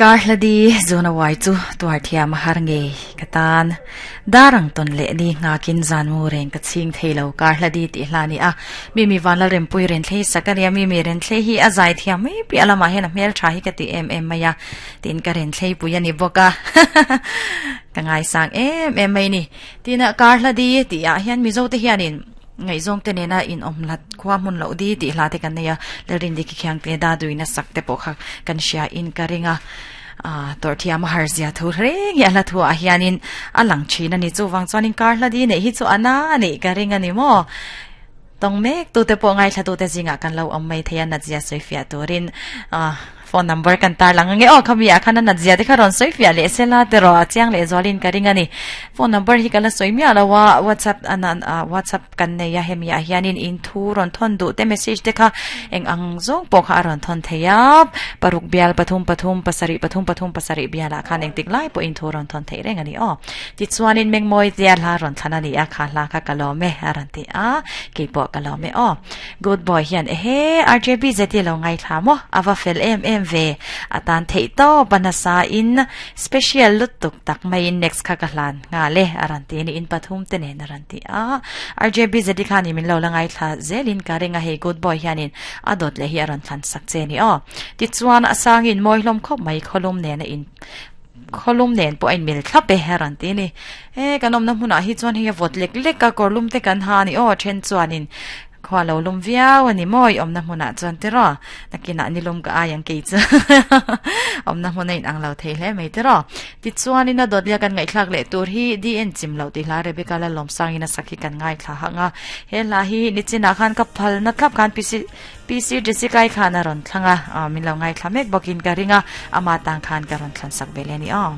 Kar hla di zuna uai chu tuar thiam a har ngei ka tan. Dar ang tawn leh ni nghakin zan mu reng ka chhing thei lo kar hla di tih hla a ni a. Mi mi vanlal rempui renthlei sak a nia mi mi renthlei hi a zai thiam mai piah lamah hian a hmel tha hi ka ti em em mai a tin ka renthlei pui a ni bawk a ka ngaisang em em mai ni. Tin a kar hla di tih ah hian Mizo te hianin ngaihzawng te nena inawm hlat khua hmun loh di tih hla te kan nei a, Lalrindi khi khiang te da duina sak te pawh kha kan hria in ka ring a, ah tawrh thiam a har zia thu reng hi a hla thu ah hianin a lang thin a ni. Chuvang chuanin kar hla di neih hi chu a na a nih ka ring a ni maw? Tawng mek tute pawh ngaithla tute zingah kan lo awm mai thei a, Natzia sawifiah turin ah Phone number kan tar lang ange aw khami ah khan a nat zia te kha rawn sawi fiah leh sela te rawh a chiang leh zualin ka ring a ni. Phone number hi ka la sawi miah lo a WhatsApp a nan ah WhatsApp kan nei a hemi ah hianin in thu rawn thawn duh te message te kha eng ang zawng pawh kha a rawn thawn thei a paruk bial pathum pathum pasarih pathum pathum pasarih bial ah khan engtik lai pawh in thu rawn thawn theih reng a ni aw. Tichuanin Mengmawi tia hla rawn thlan a ni a kha hla kha ka lawm e a rawn ti a keipawh ka lawm e aw. Good boy hian ehe RJB zeti lo ngaithla maw a va fel em em ve a tan theih tawp a nasa in special lutuk tak maiin next kha ka hlan nghal e a rawn ti a ni in pathum te nen a rawn ti a RJB zeti khan in min lo la ngaithla zelin ka ring a hei good boy hianin a dawt leh hi a rawn thlan sak che a ni aw tichuan a sangin mawi hlawm khawp mai khawlum nena in Khawlum nen pawh a inmil thlap e a rawn ti a ni. He kan awmna hmunah hi chuan hei a vawt lek lek a, kawrlum te kan ha a ni aw, then chuanin khua lo lum viau a ni maw i awmna hmunah chuan tiraw nakinah nilum ka ai ang kei chu awmna hmun a inang lo thei hle mai tiraw. Tichuanin a dawtlia kan ngaihthlak leh tur hi DN chim loh tih hla Rebecca Lalawmsangin a sak hi kan ngaithla hang a, he hla hi nichinah khan ka phalna thlap khan PC PC Jessica-i khan a rawn thlang a, min lo ngaithla mek bawkin ka ring a, ama tang khan ka rawn thlan sak ve leh a ni aw.